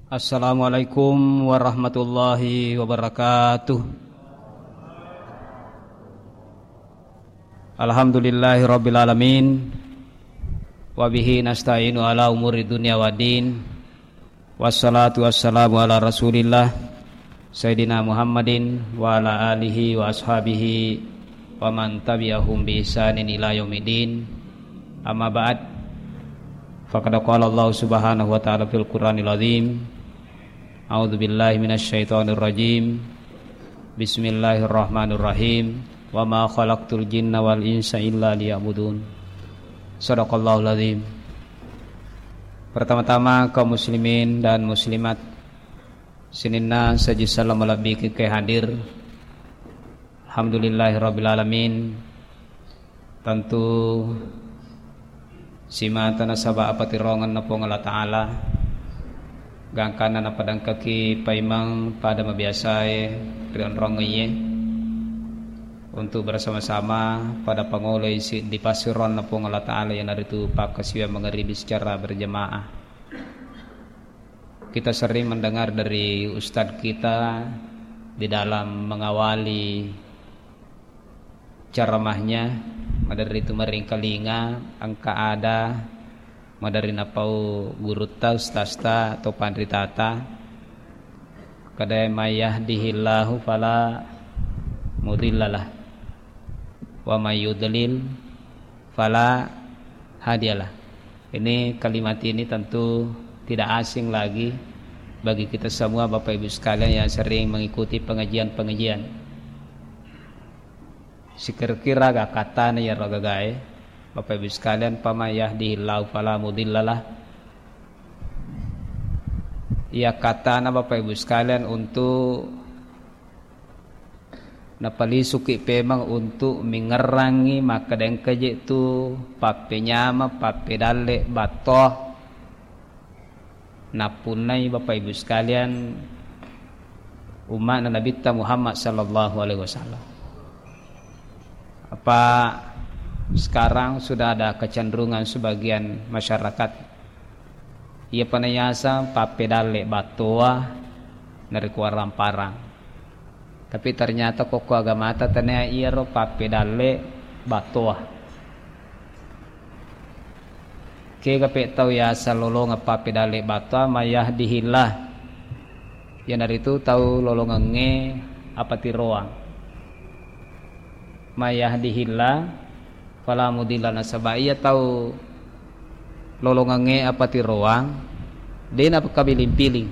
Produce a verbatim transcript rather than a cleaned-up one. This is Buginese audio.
Assalamualaikum warahmatullahi wabarakatuh. Alhamdulillahi rabbil alamin. Wa bihi nasta'inu ala umuri dunya waddin. Wassalatu wassalamu ala Rasulillah Sayyidina Muhammadin wa ala alihi wa ashabihi wa man tabi'ahum bi ihsanin ila yaumiddin. Amma ba'd. Faqad qala Allah subhanahu wa ta'ala fil Qur'anil azim. A'udzu billahi minasy syaithanir rajim. Bismillahirrahmanirrahim. Wa ma khalaqtul jinna wal insa illa liya'budun. Sadaqallahul azim. Pertama-tama, kaum muslimin dan muslimat, sininna sajisseng malebbi ke hadir. Alhamdulillahirabbil alamin. Tentu simata nasaba apatirongeng na Puang Allah Ta'ala, gangkanna napadangkaki paimeng pada mabiasae ri onrongngeye untuk bersama-sama pada pangoloi siddi passironna Puang Allah Ta'ala, iyanaritu pakkasiwiang mangaribi secara berjamaah. Kita sering mendengar dari ustadz kita di dalam mengawali ceramahnya, maderri tu maringkalinga, engka ada maderri napau gurutta, ustazta, atau panritata, kada, "May yahdihillahu fala mudhillalah, wa may yudlil fala hadiyalah." Ini, kalimat ini tentu tidak asing lagi bagi kita semua, Bapak Ibu sekalian yang sering mengikuti pengajian-pengajian. Sikira-kira aga katana iyaro gagae, Bapak Ibu sekalian, "Faman yahdihillahu fala mudhillalah." Iya katana, Bapak Ibu sekalian, untuk napalisuki pemeng untuk mingerrangi makkeda engka je tu pappenyama, pappedalle battoa nappunnai, Bapak Ibu sekalian, umma'na Nabitta Muhammad sallallahu alaihi wasallam. Apa sekarang sudah ada kecenderungan sebagian masyarakat, iya pa nayaseng pappedalle battoa narekko warang-parang. Tapi ternyata kokko agamata tania iyaro pappedalle battoa. Kega pe tau yaseng lolongeng pappedalle battoa, "May yahdihillah." Iyanaritu tau lolongengnge apatiroang. "May yahdihillah fala mudhillalah." Nasaba iya tau lolongengnge apatiroang, de' na kabiling-piling.